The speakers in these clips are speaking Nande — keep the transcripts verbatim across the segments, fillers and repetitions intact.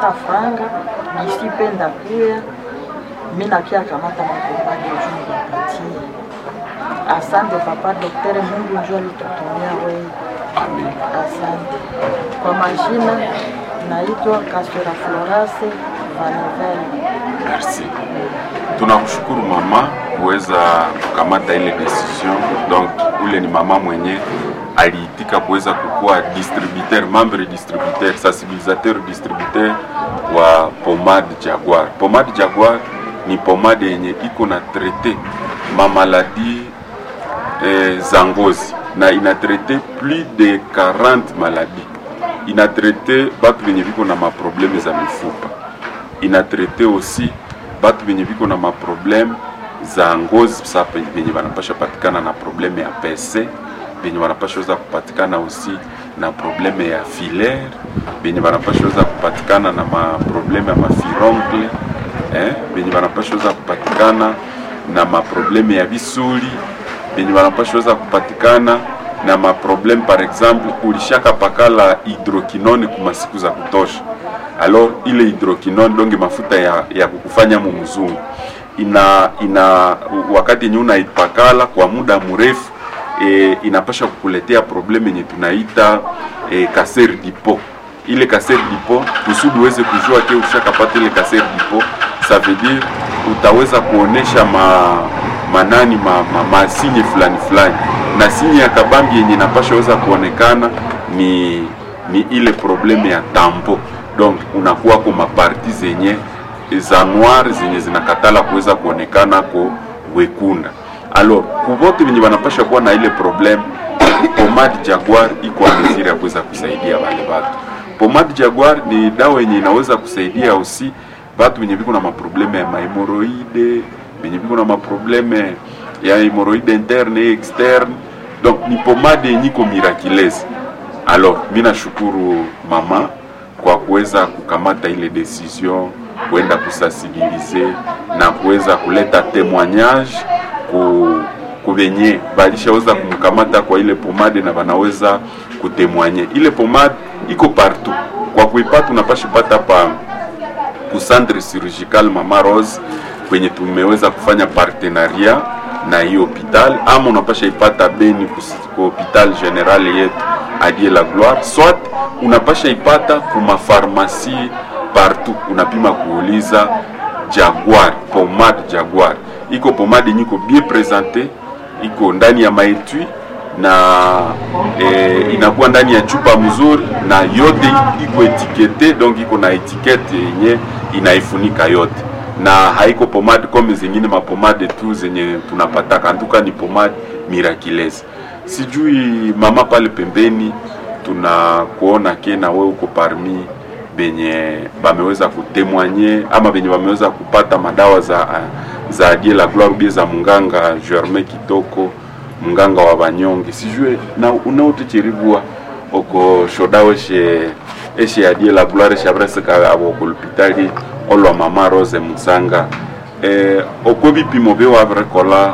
Ndapata franga disi pe ndakuya mi nakia kamata mapomade juu nibapatie. Asante papa docteur, Mungu njo alitutumia wewe. Amen. Asante. Kwa majina naitwa Kaswera Florase Vanevel. Merci. Tunakushukuru mama kuweza kukamata ile décision. Donc ule ni mama mwenye aliitika kuweza kukuwa distributeur, membre distributeur, sensibilisateur distributeur wa pomade Jaguar. Pomade Jaguar ni pomade yenye iko na traiter ma maladie eh, za ngozi na ina traiter plus de quarante maladies. Ina traiter batu benye biko na maproblème za mifupa, ina traiter aussi batu benye biko na maproblème za ngozi, sa benye banapasha patikana na problème ya P C, benye banapasha weza kupatikana aussi na problème ya filaire, benye banapasha weza kupatikana na maproblème ya mafuroncle, eh, benye banapasha weza kupatikana na maproblème ya bisuli, benye banapasha weza kupatikana na maproblème, par exemple ulishaka pakala hydroquinone kuma siku za kutosha. Alors ile hydroquinone, donc mafuta ya, ya kukufanya mu mzungu, ina ina wakati yenye unaipakala kwa muda mrefu, e, inapasha kukuletea problème yenye tunaita e, cancer du peau. Ile cancer du peau, kusudi uweze kujua que ushakapata ile cancer du peau, ça veut dire utaweza kuonesha ma manani ma, ma, ma signe fulani fulani, na signe ya kabambi yenye inapasha weza kuonekana ni ni ile problème ya tampon. Donc unakuwa ko maparties zenye za noir zenye zinakatala kuweza kuonekana ko wekunda. Alors kuvote venye wanapasha kuwa na ile problème, pomade Jaguar iko à mesure ya kuweza kusaidia wale watu. Pomade Jaguar ni dawa yenye inaweza kusaidia aussi batu wenye biko na maproblème ya mahémorroïdes, benye biko na maproblème ya hémorroïde interne et externe. Donc ni pomade yenye iko miraculeuse. Alors mi nashukuru mama kwa kuweza kukamata ile décision kwenda kusensibiliser na kuweza kuleta témoignage ku kubenye balishaweza kumkamata kwa ile pomade na banaweza kutémoigner. Ile pomade iko partout, kwa kuipata unapasha pata pa ku centre chirurgical Mama Rose kwenye tumeweza kufanya partenariat na hiyo hôpital, ama unapasha ipata Beni ku hôpital général yetu À Dieu la Gloire, soit unapasha ipata kuma pharmacie partout, unapima kuuliza Jaguar, pomade Jaguar. Iko pomade yenye iko bien présentée, iko ndani ya maétui na e, inakuwa ndani ya chupa mzuri na yote iko étiqueté, donc iko na étiquette yenye inaifunika yote, na haiko pomade comme zingine mapomade tu zenye tunapataka. Antuka ni pomade miraculeuse. Sijui mama pale pembeni, tunakuona que na wewe uko parmi benye bameweza kutémoigner ama benye bameweza kupata madawa za za Dieu la Gloire ubie za munganga Germain Kitoko, munganga wa banyonge. Sijue na unaotichiribwa oko shodawe she eshe ya Dieu la Gloire shabrasika abo ku l'hôpital olwa Mama Rose Musanga, eh, oko bipimo byo wabirekola,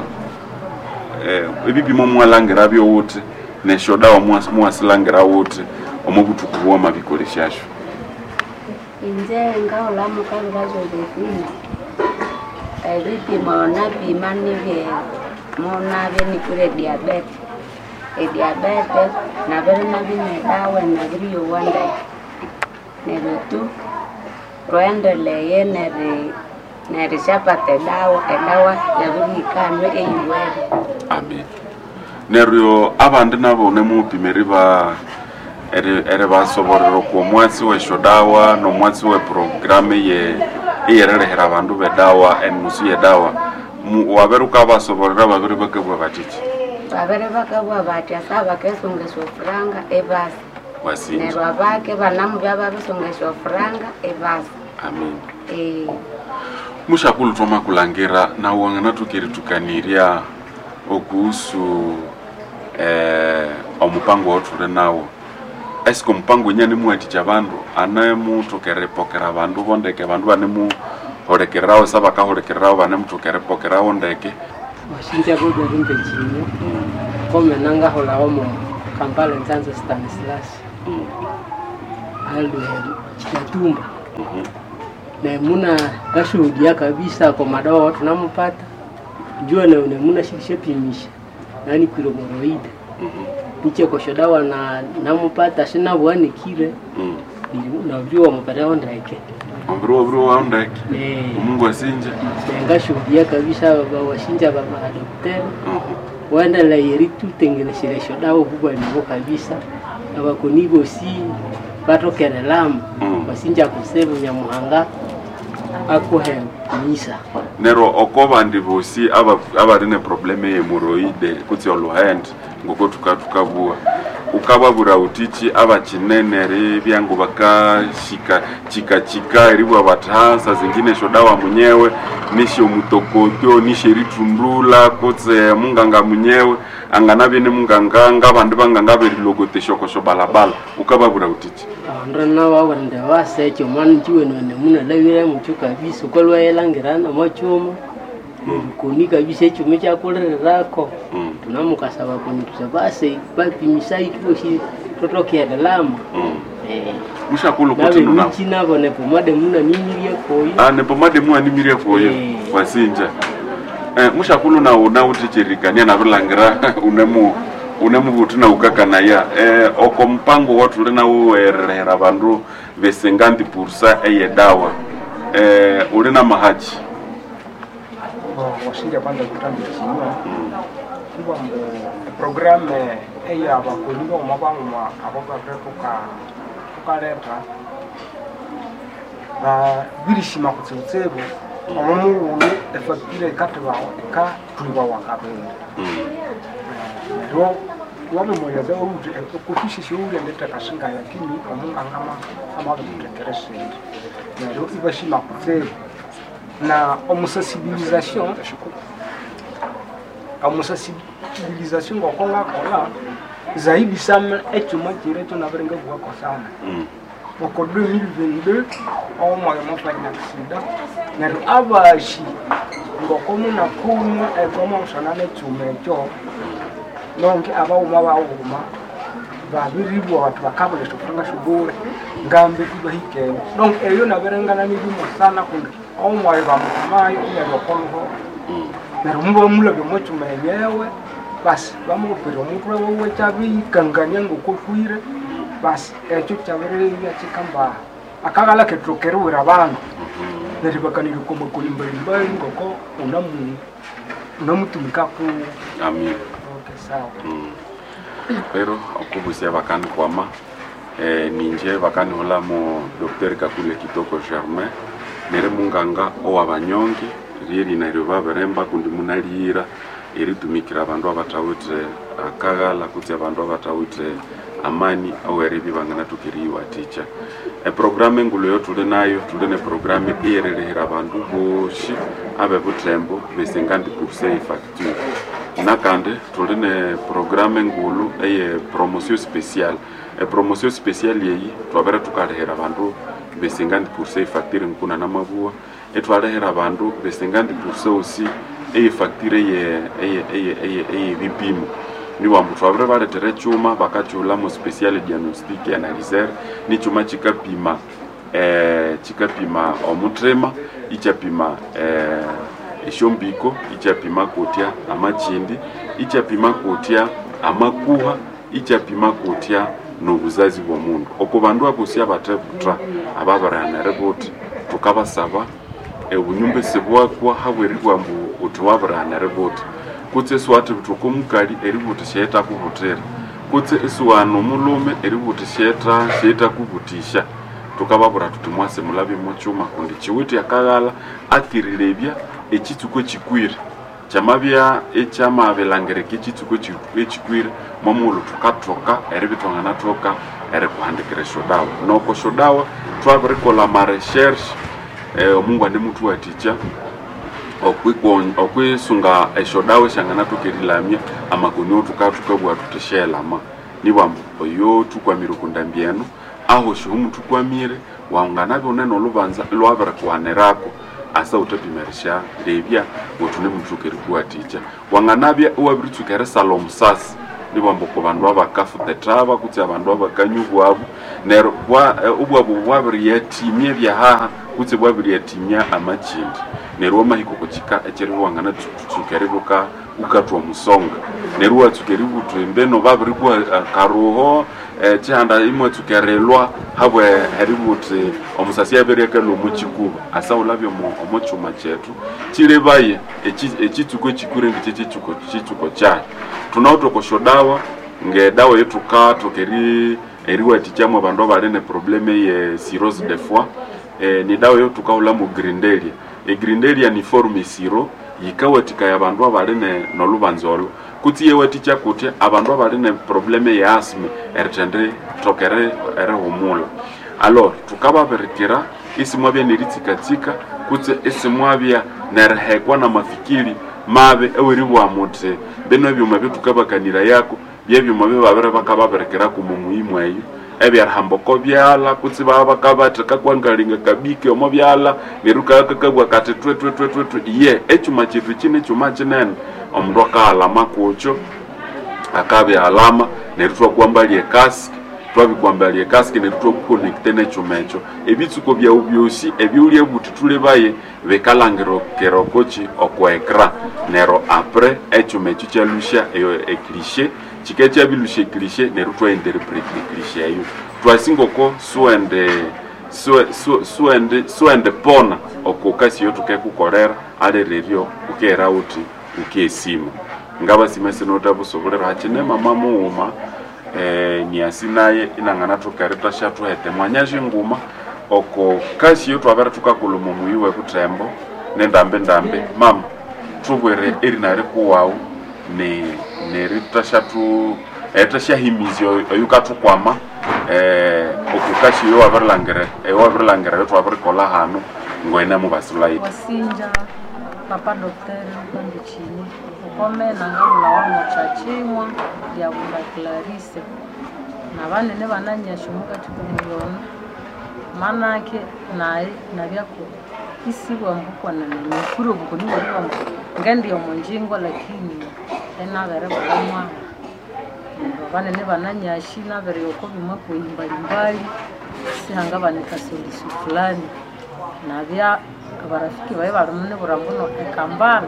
eh, ebipimo mwalangira byo wuti neshodawa mwasilangira wuti omo butuku bwa mabikoleshasho? Inje ngaulamu kabira Josephine, ebipimo napima nibye munabye nikure diabète, ediabète nabiri nabinywa edawa nabiriyowa ndeke. Neryo tu rwendeleye neri nerishapata edawa, edawa yabirihikanywa eyiwere. Amen. Neryo abandi nabo nemupima eriba eri eribasoborera okwo omwatsi wesyodawa nomwatsi we programme ye eyererehera abandu bedawa, enusu yedawa, wabere ukabasoborera babiri bakabwa batiki? Babere bakabugha bathi asa bakesunga esyofuranga ebasa. Wasinja. Neryo abake banamubya babisunga esyofuranga ebasa. Amen. Eh. Mushakulu, twamakulangira nawe wanganathukeritukanirya okuhusu eh, omupango wothuli nawo. Eske omupango wenye nimuwathikya abandu anemuthoka eripokera abandu bondeke, abandu banemuhulikirirawo sa bakahulikirirawo banemuthoka eripokerawo ndeke? Washinja Godwin Mpechinyo komena ngahulawo mu Kampala Nzanzo Stanislas alwe Kitatumba. Mhm. Nemuna ngashuhudia kabisa kwa madawa watu namupata njua na nemuna shilishapimisha nani kwire moroide Mhm. nichekosho dawa na namupata sinabwanikire Mm. nabyo wamupataho ndeke. Omubiri wabiri wawu ndeke. Eh. Omungu asinja. Ngashuhudia kabisa baba washinja baba daktari Mhm. waendelea eritutengenesera dawa kubaliwo kabisa abakoni bosi batokerelamu Mm. wasinja kusebu Nyamuhanga akuhe misa. Nero oko bandi bosi aba- abali ne probleme yehemoroide kutsi oluhende ngoko tukatukabua ukababura utichi abachinene byangu bakashika chikachika eribwa batasa zingine shodawa munyewe nisho mutokotyo nisho eritundula kutse munganga munyewe anganabye ne munganga ngabandi banganga berilogotesha shokosho balabala ukababura utichi. Abandu nabo babwira baseche omwana njiwenene munalabire mukyo kabisa ukalwaelangirana omwakyuma nerikoni kabisa ekyuma ekyakulirirako. Mm. Tunamukasa bakoni tusa base bapimisa itubosi totokerelamo. Mm. Eh. Mushakulu kuti nuna Nabemichi nabo nepomade munanimirie koyo. Ah, nepomade muanimirie koyo. Eh. Wasinja eh, mushakulu na una utichirikania nabilangira unemu unemubutu na ukakanaya eh, oko mpango watuli nauwerera bandu besenganti pursa eyedawa eh, uli na mahachi. Washinja kwanza kutambira kinywa kuba mbu eprogramu eyabakoni boma bang'uma abo babire tuka tukaleta babirishima kutsibutsibu omo mughulu efacture ikathibawa ikathulibawa kabiri. Mm. Neryo wabimweleza outhi kufishisya owulya nditheka lakini omunganga amabikuthekera esindi neryo ibashima kutsibu na omusensibilisation omusensibilisation ngoko ngakola zaidi sana ekyuma kyira ekyo nabiringabuwako sana. Mm. Oko twenty twenty-two omwaka mwafanya aksida neryo abashi ngoko munakumwa ekoma nekyuma ekyo nonke abawuma bawuma babiribwa bati bakabula esyofuranga syobule ngambe ibahikene donc eyo nabirengana nibimo sana kundi omwayi bamutumayo inabya okoluho. Mm. Neryo mubamulabya omwakyuma enyewe basi bamupira omutwe wuwe kyabiyikangania ngokokwire basi ekyo kyabiribya kyikambaha akaghala kethu keriwira abandu neryo bakanirya okwamakoni mbalimbali ngoko unamu unamutumika kuwo. Amin. Okay, sawa. Mm. Pero okubusia bakanikwama eh, ninje bakanihulamo Docteur Kakule Kitoko Germain nere munganga owabanyonge ryeri neryo babiremba kundi munaliyira eritumikira abandu abathawithe akaghala kutse abandu abathawithe amani aweribya banganathoka eriyiwathikya. Eprogramu engulu eyo tuli nayo tuli ne programu eyeririhira abandu bosi abebuthembo besenganti pourcent efacture nakandi tuli ne programu engulu eye promotion spéciale. Epromotion spéciale yeyi twabere tukalihira abandu besenganti pourcent efacture nkuna namabua etwalihira abandu besenganti pourcent osi eyefacture eye eye eye eye eyebipimo niwambu twabire baletera ekyuma bakakyulamo special diagnostic analyzer nikyuma kikapima eh, kikapima omuthima ikyapima eh, esyombiko ikyapima kutya amakindi ikyapima kutya amakuha ikyapima kutya nobuzazi bw'omundu oko bandu abosi abathebutha ababirihana eributhi thukabasaba obunyumba esibwakwa habweribwa mbu uthi wabirihana eributhi kutse isiwathibutha oko mukali eributhi syayithakubuthira kutse isiwana omulhume eributhi syetha syayithakubutisya thukababwira thuthi mwase mulabye mokyuma kundi kiwithe akaghala akirirebya ekitsuku ekikwire kyamabya ekyamabilangirika ekitsuku ekikwire mwamughulhu thukathoka eribya ithwanganathoka erikuhandikira esyodawa noko esyodawa twabirikolha amaresearch eh, omungu anemuthuwathikya okwisunga esyodawa esyanganathoka erilamya amakoni othukathukabuwa thuthi syelama nibwambu oyo thukwamire okundambi eno aho sihumuthukwamire wanganabya wunene olubanza lwabirikuwanirako asa wuthapima erisyarebya wuthi unemuthuka erikuwathikya wanganabya iwabiritsuka erisalha omusasi. Nibwamba oko bandu abakafuta ethaba kutse abandu abakanywa obwabu neryo obwabu bwabiriyathimya ebyahaha kutse bwabiriyathimya amakindi. Neryo wamahika oko kika ekyeribya iwanganatsuka eribya wukathwa omusonga neryo iwatsuka eributha embeno babirikuha akaruho ekihanda imwatsuka erilwa habwe eributhi omusasi abiryakalhwa omo kikuba. Asa wulabye omo kyuma kyethu kirebaye ekitsuko ekikure ngikye kitsuko kyayi. Thunawithe oko syodawa ngedawa eyithukathoka eriwathikyamu abandu abali ne probleme ye cirrhose de foie, ni dawa eyothukahulhamu grindelia. Egrindelia ni forme siro yikawathikaya abandu abali nolhubanza olho kutse iyawathikya kutya abandu abali ne probleme ye asthma erithendithoka erihumulha. Alors thukababirikira isimwabya neritsikatsika kutse isimwabya nerihekwa namafikiri mabi eweribugha muthi bino ebyuma ebithukabakanirayako byebyuma ebyababiri bakababirikiraku omo muhimu eyo ebyerihamba oko byalha kutse ibabya bakabatheka kwangalinga kabike omo byalha neryo kakakabugha kathi thwe thwe thwe thwe thwe. Iye ekyuma kyethu ekyi nikyuma kinene omundu akaghalama kukyo akabighalama neryo ithwakwambalya ecasque twabikwambalya ecasque neryo ithwakuconnecta nekyuma ekyo. Ebitsuko byawu byosi ebyowulya buthi thulebaye bikalhangirikira okokyi oko ecran neryo apres ekyuma ekyo ikyalhusya ecliche kikabya kyabilusya ecliche neryo ithwainterpreta ecliche eyo. Twasi ngoko siwende siwende pona oko kasi eyothukekukolera alireryo wukighera wuthi wukesima. Ngabasima sinawithe hakyine mama mughuma niasi naye inanganathoka erithasyathwetha emwanya nguma oko kasi eyothwabere thukakolha omo muyi webuthembo nendambindambi. Mama thubwire erina rikuwawu nerithasyathahimizya oyukathukwama oko kasi eyowabirilhangira eyowabirilhangira eyothwabirikolha hanu ngoyine mubasilhayi. Wasinja papa docteur Kandikini okomena ngabulhawa mokyakimwa lyabunda Clarice nabanene bananyasya omukati komuyono manake nayi nabyaku isibwambu kwenene nikuri obukoni bweribwambu ngendi omonjingo lakini enabere bula mwana abanene bananyasi nabere oko byuma kweyi mbalimbali sihangabanika solution fulani nabya abarafiki bayi balimune mbuno ekambala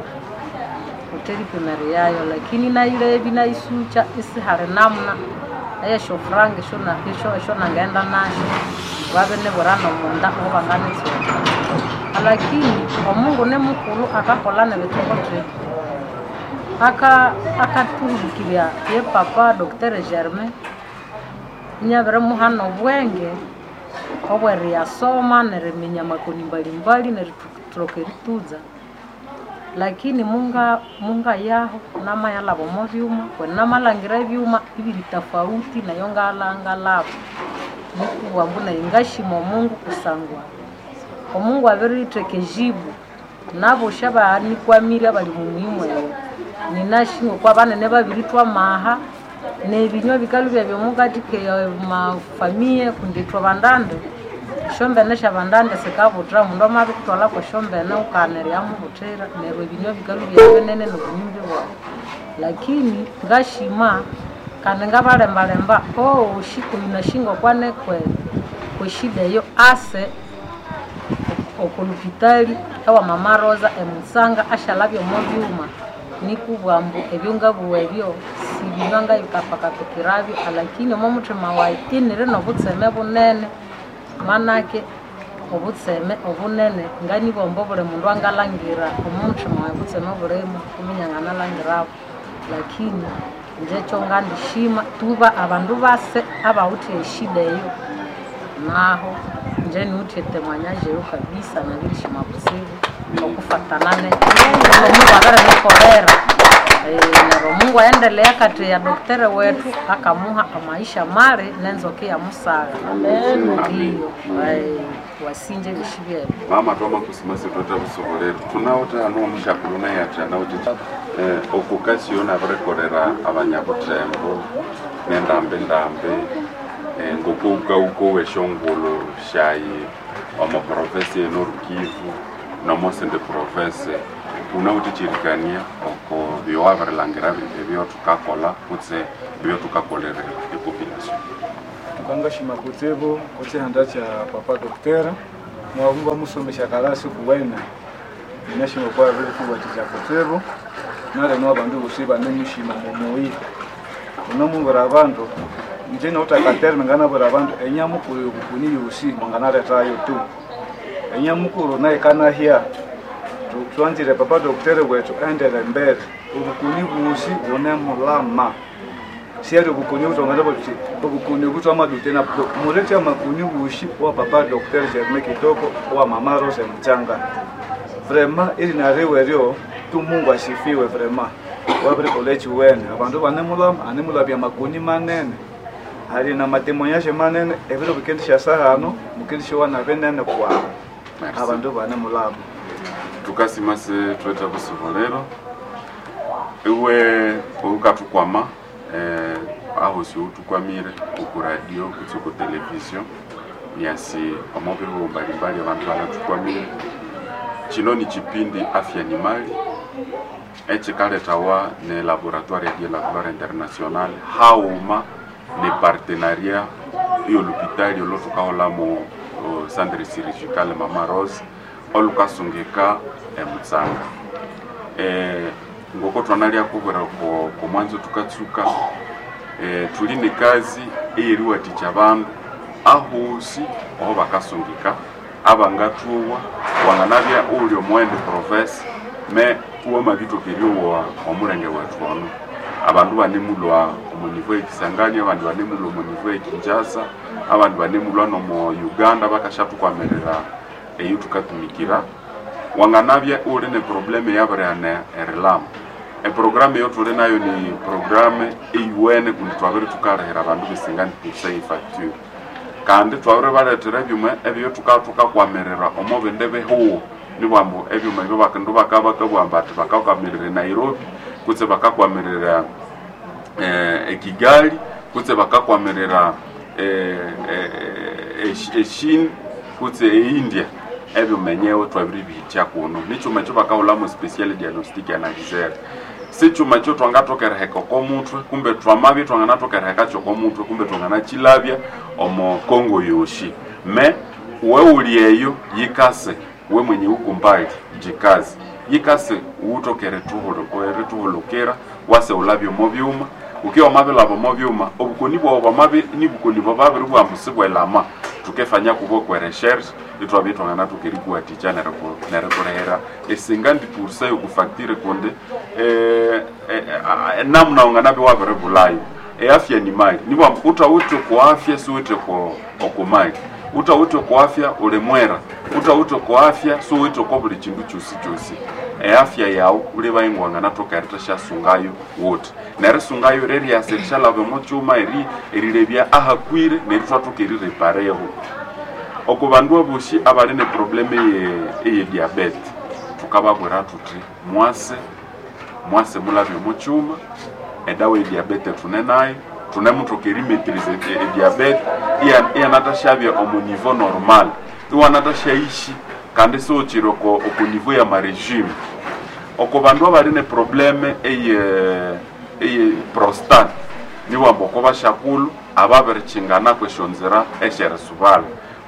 uteripimere yayo lakini nayilebi nayisucha isihali namna eyeshofuranga esyo nangenda nasyo babinibwira nomunda obanganitsuka lakini omungu nimukulhu akakolha nebithokotheke aka akathuhikirya ye papa Docteur Germain inyabirimuha nobwenge obweriyasoma neriminya amakoni mbalimbali nerithoka erituza lakini munga munga yaho namayalhaba omo byuma kweni namalhangira ebyuma ibiri tofauti nayo ngalhangalhaba nikubugha ambu nayi ngashima omungu kusangwa omungu abiritheka ejibu nabosi abanikwamire abali mumuhimu eyo ninashinga okwa banene babirithwa amaha nebinywa bikalhwa byomukati mafamiye kundi ithwe bandande esyombene syabandande sikabuthira omundu amabikuthwalha kwesyombene wukana eriyamubuthira neryo ebinywa bikalhwa byabinene nobunyumbi bwawu lakini ngashima kandi ngabalembalemba owosi oyu nashinga okwanekwe kweshida eyo ase okolupitali ewa mama Rosa emutsanga asyalhabya omo byuma nikubugha ambu ebyo ngabugha ebyo sibinywa ngayikapakapikirabyo lakini omo muthima wayi iniri nobutseme bunene manake obutseme obunene nganibomba obuli mundu angalhangira omo muthima wayi obutseme obulimu kuminya nganalhangirabo lakini inje ekyo ngandishima tuba abandu base abawithe eshida eyo naho inje niwithe emwanyajeyo kabisa nabirishima kutsibu okufatana nomungu abirinikolera neryo omungu aendelea kati ya doktere wethu akamuha amaisha mali nenzoka iyamusagha ndiyo wasinje ebyosi byebyo. Mama twamakusima sitwetha busobolere thunawithe hano omusyakulu naye athi anawithe oko kasi eyo nabirikolera abanyabuthembo nendambindambi ngokowukawukowa esyongulhu syayi omo province ye Nord Kivu Nomosende province unawuthikyerikania oko byowabirilhangira ebyo thukakolha kutse ebyo thukakolerera epopulation. Tukangashima kutsibu kuchihanda cha papa doktera mwabumba musomesha kalasi kuwene inashima kwa vile kuwaticha kutsibu nale no abandu bosi banemushima mumuyi unomubura abandu nje noutakatere nganabura abandu enyamukuru yobukuni yosi mwanganaletayo tu enyamukuru naye kanahya twanzire papa doktera wetu endele mbere obukuni busi bunemulama siari obukuni butongana buti obukuni butwa madutena murete amakuni bushi wa papa docteur Germain Kitoko wa mama Rose Mchanga vraiment ili nariwe ryo tu Mungu asifiwe vraiment wabiri koleji wene abandu banemulama anemulabya makuni manene hari na matemoyashe manene ebiro bikendisha sahano mukendisha wana benene kwa abandu banemulama. Tukasima se tweta busubolero iwe ukatukwama eh, aho si utukwamire uku radio kutse ku television niasi omobihu mbalimbali abantu banatukwamire. Chino ni chipindi Afya ni Mali echikaletawa ne laboratoire ya la Gloire International hauma ne partenariat iyo l'hôpital olotukaholamo centre chirurgical Mama Rose olukasungika emutsanga. Eh, ngoko twanalia kubwera ko mwanzo tukatsuka eh, tuli ne kazi eyeriwatikya abandu ahosi aho bakasungika abangathuwa wanganabya uli omwende province me uwama bitokeryowa omulenge wethu ono abandu banemulwa omu niveau ekisangani, abandu banemulwa omu niveau ekinshasa, abandu banemulwa nomo Uganda bakashatukwamerera eyo tukatumikira. Wanganabya uli ne probleme yabirihana erilama eprogramu eyo tuli nayo ni programu eyuwene kundi twabiri tukalihira abandu besinga pourcent efacture kandi twabiri balethera ebyuma ebyo tukakwamirira omo bindi bihuwo nibwambu ebyuma ebyo bakindu bakabakabwamba ati bakakwamirira Nairobi kutse bakakwamirira eh, Kigali kutse bakakwamirira eh, eh, Echine kutse India ebyumenyewe twabiri bihitya kuno nichuma ekyo bakahulamo special diagnostic analyzer sichuma ekyo twangathokereheka oko mutwe kumbe twamabya twanganathokereheka kyoko mutwe kumbe twanganachilabya omo Kongo yoshi me we uli eyo yikase we mwenye ukumbali jikazi yikase uwutokere tuhulukira wase ulabya omo byuma ukiwa mabilaba omo byuma obukoni bwawu bwamabi nibukoni bwababiri bwambu sibwelama tukefanya kubo kwe recherche itwabye twangana tukerikuwatikya nerikurehera esinganti pourcent yokufacture kundi eh, eh, eh, namna unganabe wabiri bulayo eafya ni mali nibwambu utawithe ku afya siwithe ku okumali utawithe ku afya uli mwera utawithe ku afya siwithe kwa buli kindu kyosi kyosi eafya yawu uli bayingwangana thokereta syasungayo wuthi nerisungayo reriasa erishalaba omo kyuma eri erilebya ahakwire neryo thwathoka erirepareho oko bandu abosi abali ne probleme eye diabete thukababwira thuthi mwase mwase mulabye omo kyuma edawa ye diabete thune nayo thunemuthoka erimaîtriser ediabete iyanathashabya omu niveau normal iwanathashaishi kandi siwukiri oko oko niveau ya marégime oko bandu abali ne probleme eye eye prostate niwamba oko bashakulhu ababirikyingana kwesyonzira esyerisubala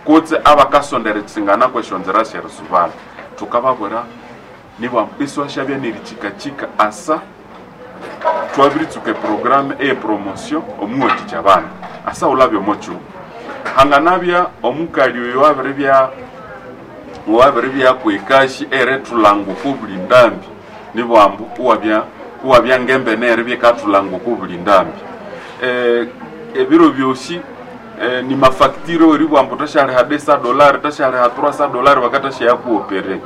kutse abakasondera ekyingana kwesyonzira syerisubala thukababwira niwamba isiwashabya nerikyikakyika asa twabiritsuka eprogramu eye promotion omuwathikya abandu asa wulabya omo kyuma hanganabya omukali oyo wabiribya wabiribya kwekashi erethulanga oko buli ndambi nibwambu uwabya uwabya ngembene eribya ikathulanga oko buli ndambi eh, ebiro byosi eh, ni mafacture eribwambu tashaliha desa dolari tashaliha trois dolari bakatashayakuopere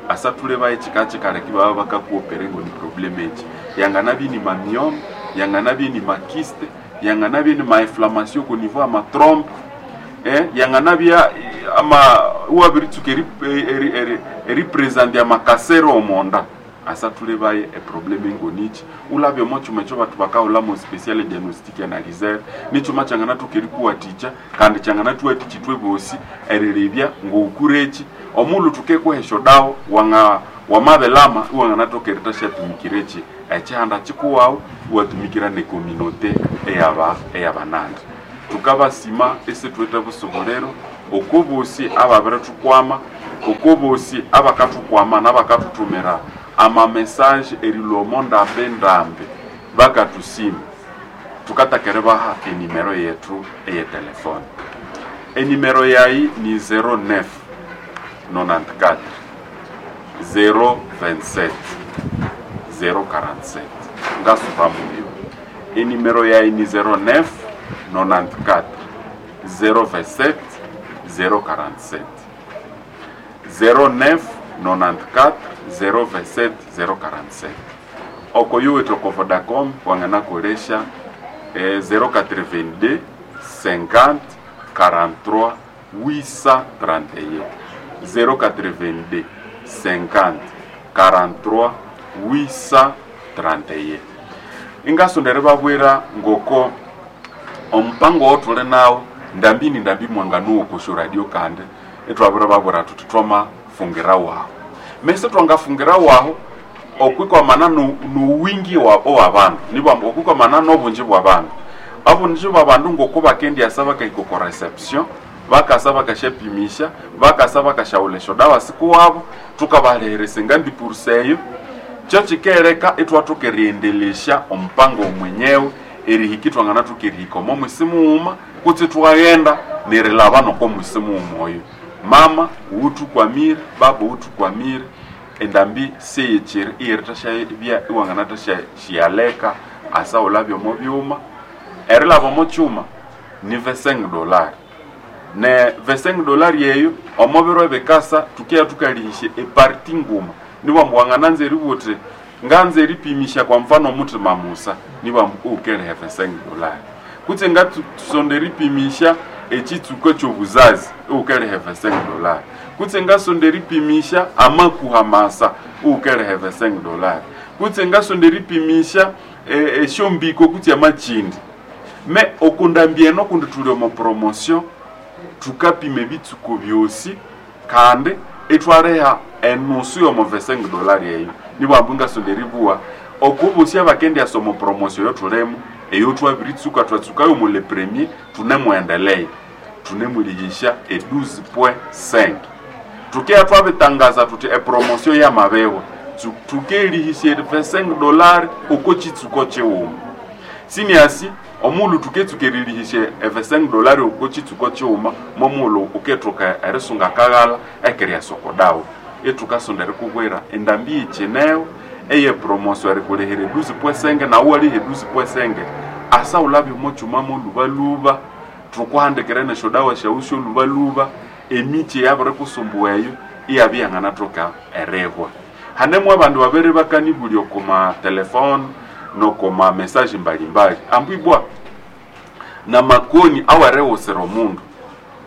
asa thule baye chikachikaleki baba bakakuopere ngo ni problème eki yanganabye ni mamyome yanganabye ni makyste yanganabye ni mainflammation ku niveau ya matrompe eh, yanganabya ama uwabiritsuka eri, eri, eri, eripresent ya makasero omonda Asa tulebaye eproblème ngonichi ulabye omo chuma ekyo batu bakahulamo special diagnostic analyzer. Nichuma kyanganathoka erikuwathikya kandi kyanganathuwathikya ithwe bosi erilebya ngoukureki omulhu thukekuha esyodawa wanga wamabelama iwanganathoka eritasyatumikira eki ekihanda kikuwawu, iwatumikira necommunauté eyaba eyabanandi. Tukabasima esithuwithe busobolero okobosi ababirithukwama, okobosi abakathukwama n'abakathuthumira ama message erilwa omo ndambi ndambi bakathusima. Tukatakere baha enimero yethu eyetelefone. Enimero yayi ni zero nine nonante-quatre zero vingt-sept zero quarante-sept. Ngasubamuyo, enimero yayi ni zero nine nonante-quatre zero vingt-sept zero quarante-sept, zero nine nonante-quatre zero vingt-sept zero quarante-sept. Oko yuwithe oko Vodacom wanganakolesya eh, zero quatre-vingt-deux cinquante quarante-trois huit cent trente et un, zero quatre-vingt-deux cinquante quarante-trois huit cent trente et un. Ingasondere babwira ngoko omupango wotule nawo ndambi ni ndambi mwanganuwo kusho radio, kandi itwabira babwira tuti twamafungira waho mese twangafungira waho okwikwamana nuwingi wa bandu nibwa okwikwamana n'obungi bwa bandu, obungi bwa bandu ngoko bakendyasa bakahika oko reception, bakasa bakasyapimisha, bakasa bakasyaghulha esyodawa sikuwabo, tukabaleheresa engambi pursa eyo. Kyo kikereka itwathoka eriendelesya omupango omwenyewe erihika itwanganathoka erihika omo mwisi mughuma kutse twaghenda nerilaba noko mwisi mughuma oyo. Mama wuthukwamire, baba wuthukwamire, endambi seyekiri iyerithashabya iwanganathashyaleka asa wulabya omo byuma. Erilaba omo kyuma ni vingt-cinq dollars, ne vingt-cinq dollars eyo omo biro ebikasa tukeya tukalihisya eparti nguma. Nibwambu wangananza eribugha uthi nganza eripimisya kwa mfano omuthima musa, nibwambu uwukeriha vingt-cinq dollars, kutse ngasonda eripimisya ekitsuko ekyobuzazi uwukeriha vingt-cinq dollars, kutse ngasonda eripimisya amakuha masa uwukeriha vingt-cinq dollars, kutse ngasonda eripimisya esyombiko kutse amakindi. Me okundambi eno kundi thuli omo promotion, thukapima ebitsuko byosi kandi ithwariha enusu yomo vingt-cinq dollars eyo. Nibwambu ngasonda eribugha okubosi abakendyasa omo promotion eyothulimo eyo thwabiritsuka, twatsukayo omu le premier, thunemwendelea thunemulihisya e douze point cinq. Tukeya twabitangaza thuthi epromotion yamabihwa, thukerihisya vingt-cinq dollars oko kitsuko kighuma. Siniasi omughulhu thuketsuka erilihisya e vingt-cinq dollars oko kitsuko kighuma, momughulhu ukethoka erisunga akaghalha ekeryasa oko dawa. Ithukasonda erikubwira endambi yikineho eye promotion erikulihira douze point cinq, nawu waliha douze point cinq asa wulabye omo kyuma molubaluba, thukuhandikira nesyodawa syawu syolubaluba. Emikyi eyabirikusumbuwa eyo iyabya iyanganathoka erihwa. Hanemu abandu babiri bakanibulya okuma telefone nokuma message mbalimbali ambu ibwa namakoni awerighusira omundu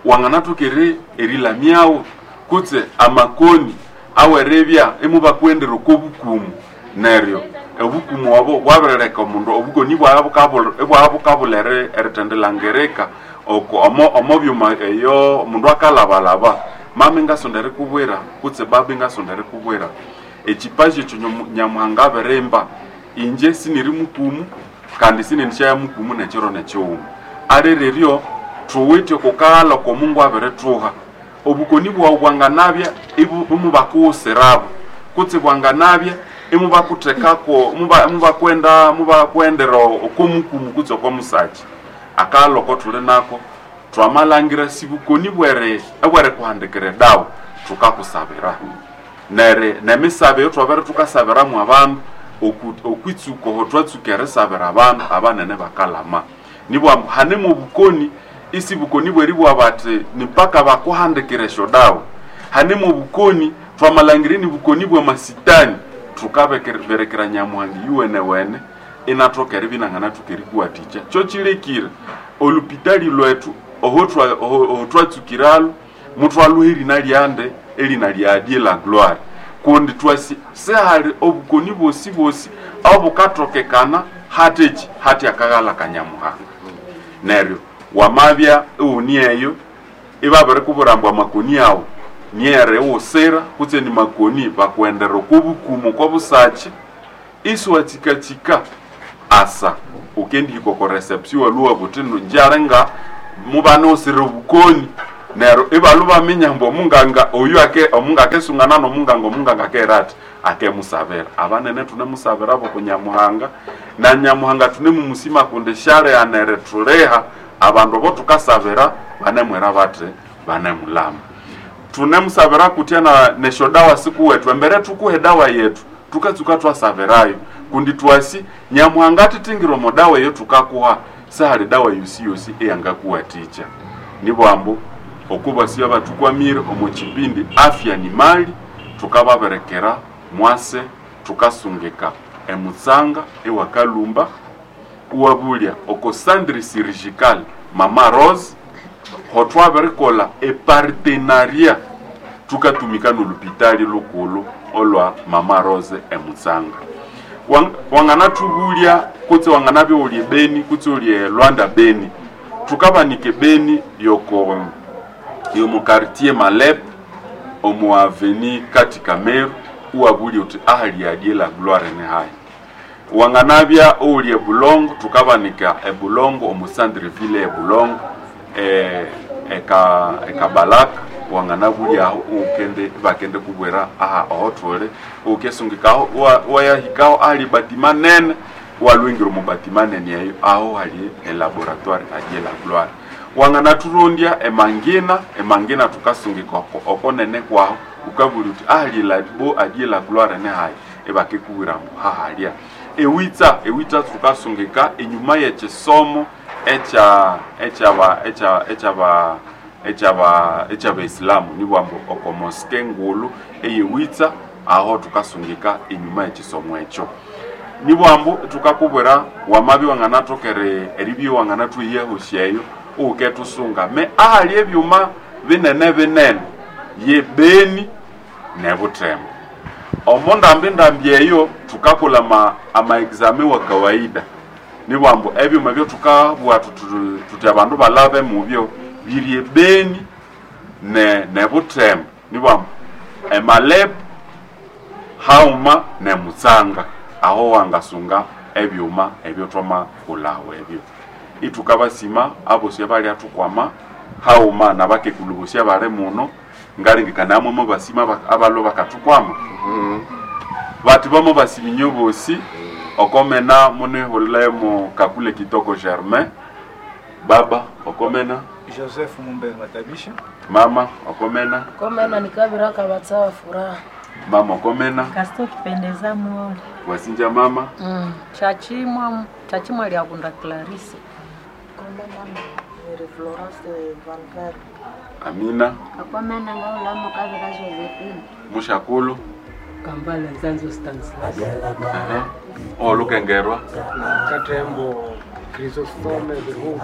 wanganathoka eri erilamyawo kutse amakoni aweribya imubakuwendera oko bukumu, neryo obukumu obo bwabirileka omundu obukoni ibwabya bukabulha erithendilangirika oko omo omo byuma eyo omundu akalabalaba. Mama ingasonda erikubwira kutse baba ingasonda erikubwira ekipaji ekyo Nyamuhanga abirimba. Inje siniri mukumu kandi sinendishyaya mukumu nekiro nekighuma alireryo thuwithe okukaghalha oko Mungu abirithuha. Obukoni bwawu bwanganabya imubakughusirabo kutse bwanganabya imubakuthekako imubakwenda mubakwendera oko mukumu kutse oko musaki. Akaghalha oko thuli nako thwamalhangira sibukoni bweri ebwerikuhandikira edawa, thukakusabira neri nemisabe eyo thwabere thukasabiramu abandu okwitsuka oho twatsuka erisabira abandu abanene bakalama. Nibwambu hanemu obukoni isi bukoni bweribugha bathi nipaka bakuhandikira esyodawa. Hanemu obukoni thwamalhangira ni bukoni bwamasitani, thukaberekera Nyamuhanga yuwenewene inathoka eribya inanganathoka erikuwathikya. Kyo kilekire olupitali lwethu oho twatsukiralwo muthwalhuha erina lyande, erina lya Dieu la gloire. Kundi twasi sehali obukoni bosi bosi obukatokekana hateki hati akaghala kanyamuhanga. Neryo wamabya ewuni eyo ibabiri kuburambwa makoni awo nyere wosera kutse ni makoni bakuendera okubukumu kobusachi iswatsikatsikka asa ukendihika ko reception waluwa buti njarenga mubane osire obukoni. Neryo ibalu baminya mbu omunganga oyu ake omunga akesungana nomunganga omunganga akerati akemusabira. Abanene tunemusabira abo kunyamuhanga na nyamuhanga tunemumusima kundi shale anere tuleha abandu bo tukasabira banemwera bate banemulama. Tunemusabira kutya na nesho dawa siku wetu embere tukuhe dawa yetu tukatsuka twasabirayo kundi twasi nyamuhanga titingiro modawa yetu tukakuha sahali dawa yosi yosi eyangakuwaticha. Nibwambo okuba siyo abatukwamire omu kipindi afya ni mali tukababerekera mwase tukasungika emutsanga ewakalumba uwabulya oko centre chirurgical Mama Rose hotwaberikola epartenariat tukatumika n'olupitali lukulu olwa Mama Rose emutsanga. Wang, wangana tubulya kutse wangana byolye Beni kutse olye Lwanda Beni tukabanike Beni yoko yomu quartier Malep omu avenue Katika Meru uwabulya uti ahali adie la gloire ne hai. Wanganabya olye Bulongo tukabanika ebulongo omu centre ville ebulongo e eka ekabalaka wanganabulya aho ukende bakende kubwera aha ohotole ukesungikaho wayahikaho ali batima nene walwingira mu batima nene eyo aho hali e laboratoire adie la gloire. Wanganaturondya emangina emangina tukasungika okonene kwaho ukabuli uti ahali labo adie la gloire ne hai ebakekubwira mbu hahalya. Ewitsa ewitsa tukasungika enyuma yekisomo echa echaba echa echaba echaba echaba Islamu nibwambo okomoske ngulu eyewitsa aho tukasungika enyuma yekisomo ekyo. Nibwambo tukakubwera wamabi wanganatokere eribyo wanganatwiyeho uketusunga me ahali ebyuma binene binene ye Beni nebutembo. Omo ndambi ndambi eyo tukakola ma ama exame wa kawaida. Nibwambo ebyuma byo tukabwa tuti abandu balabe mubyo birye Beni ne nebutembo. Nibwambo emalep hauma ne mutsanga aho wangasunga ebyuma ebyo twama kulawo ebyo. Itukabasima abosi abali atukwama hauma nabakekulubusia bale muno ngalengekana amwe basima abalo bakatukwama. Mm -hmm. Bati bamo basiminyo bosi okomena munehulemo kakule kitoko Germain baba okomena Joseph Mumbe Matabisha mama okomena okomena nikabira kabatsawa furaha mama okomena Kasto kipendeza muone wasinja mama mm. Chachimwa chachimwa lyakunda Clarisse Komena ni Florence Van Ver. Amina Akomena ngaulamo kabira Josephine Mushakulu Kambale Nzanzo Stanislas. Uh-huh. Olukengerwa Katembo Chrysostome Bihugu.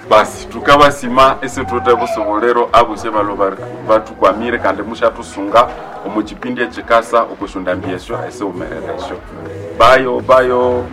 Basi tukabasima ese tute busobolero abuse balo batukwamire kandi mushatusunga omu kipindi ekikasa okushunda mbyesyo ese umereresyo. Bayo bayo.